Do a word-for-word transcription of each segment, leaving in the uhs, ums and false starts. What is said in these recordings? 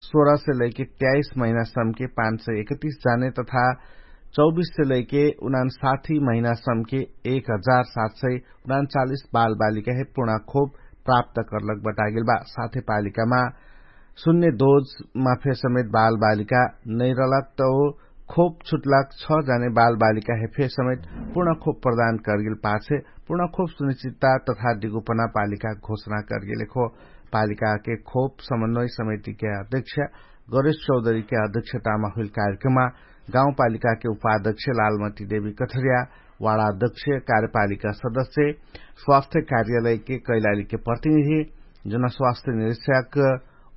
सोह्र से लैके त्याइस महिनासम्के पाँच सय एकतिस जाने तथा चौबिस से लैके उनान साठी महिनासम्के एक हजार सात सय उनान चालिस बालबालिका हे पुर्णा खोप प्राप्त कर्लक बटागेल बा। साथे पालिकामा सुन्ने दोजमा फेर समेत बालबालिका नैरलक त ओ खोप छुट्लक छ जाने बालबालिका हे फेर समेत पुर्णा खोप प्रदान कर्गेल पाछे पुर्णा खोप सुनिश्चितता तथा दिगुपना पालिका घोषणा कर्गेल खो। पालिकाके खोप समन्वय समितिके अध्यक्ष गणेश चौधरीके अध्यक्षतामा हुइल कार्यक्रममा गाउँपालिकाके उपाध्यक्ष लालमती देवी कठरिया, वाडा अध्यक्ष, कार्यपालिका सदस्य, स्वास्थ्य कार्यालयके कैलालीके प्रतिनिधि, जनस्वास्थ्य निरीक्षक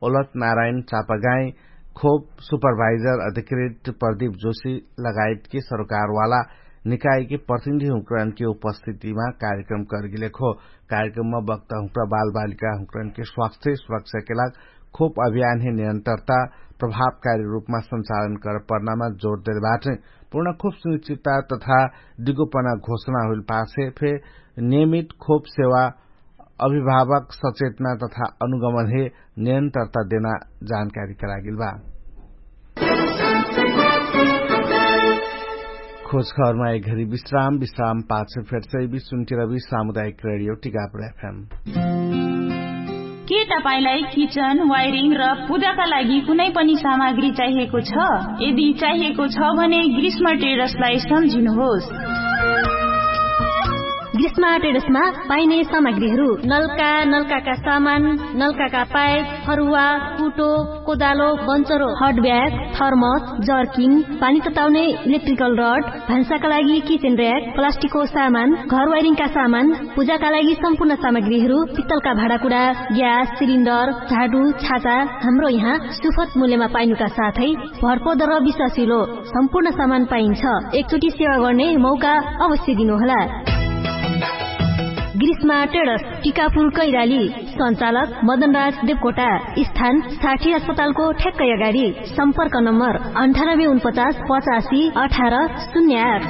ओलत नारायण चापागाई, खोप सुपरभाइजर अधिकृत प्रदीप जोशी लगायतके सरोकारवाला निकायके प्रतिनिधि हुँकरणके उपस्थितिमा कार्यक्रम कर्गिलेखो। कार्यक्रममा बक्ता हुँक्रा बालबालिका हुँकरणके स्वास्थ्य सुरक्षाके लाग खोप अभियानहे निरन्तरता प्रभावकारी रूपमा सञ्चालन कर पर्नामा जोड देल बाटै। पूर्ण खोप सुनिश्चितता तथा दिगोपना घोषणा हुइल पाछे फे नियमित खोप सेवा अभिभावक सचेतना तथा अनुगमनहे निरन्तरता देना जानकारी करागेल बा। खोजखबरमा एक घरी विश्राम विश्राम पाछ फेर्सै विश्वन्तिरवी सामुदायिक रेडियो टिकापुर एफएम। के तपाईंलाई किचन वायरिङ र पूजाका लागि कुनै पनि सामग्री चाहिएको छ? यदि चाहिएको छ भने ग्रीष्म ट्रेडर्सलाई सम्झिनुहोस्। ग्रीष्म ट्रेडर्समा पाइने सामग्रीहरू नल्का नल्काका सामान, नल्काका पाइप, फरुवा, कुटो, कोदालो, बन्चरो, हटब्याग, थर्मस, जर्किन, पानी तताउने इलेक्ट्रिकल रड, भान्साका लागि किचेन र्याक, प्लास्टिकको सामान, घर वायरिङका सामान, पूजाका लागि सम्पूर्ण सामग्रीहरू, पित्तलका भाँडाकुडा, ग्यास सिलिन्डर, झाडु, छाता, हाम्रो यहाँ सुफत मूल्यमा पाइनुका साथै भरपर्दो र विश्वासिलो सम्पूर्ण सामान पाइन्छ। एकचोटि सेवा गर्ने मौका अवश्य दिनुहोला। ग्रीष्मा ट्रेडर्स, टिकापुर कैराली। सञ्चालक मदनराज देवकोटा। स्थान साठी अस्पतालको ठ्याक्कै अगाडि। सम्पर्क नम्बर अन्ठानब्बे उनपचास पचासी अठार शून्य आठ।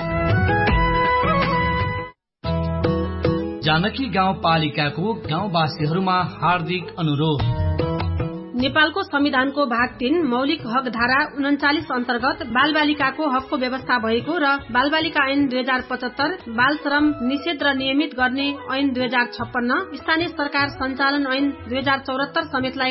जानकी गाउँपालिकाको गाउँवासीहरूमा हार्दिक अनुरोध। नेपालको संविधानको भाग तीन मौलिक हकधारा उनन्चालिस अन्तर्गत बालबालिकाको हकको व्यवस्था भएको र बालबालिका ऐन दुई हजार पचहत्तर, बालश्रम निषेध र नियमित गर्ने ऐन दुई हजार छप्पन्न, स्थानीय सरकार सञ्चालन ऐन दुई हजार चौहत्तर समेतलाई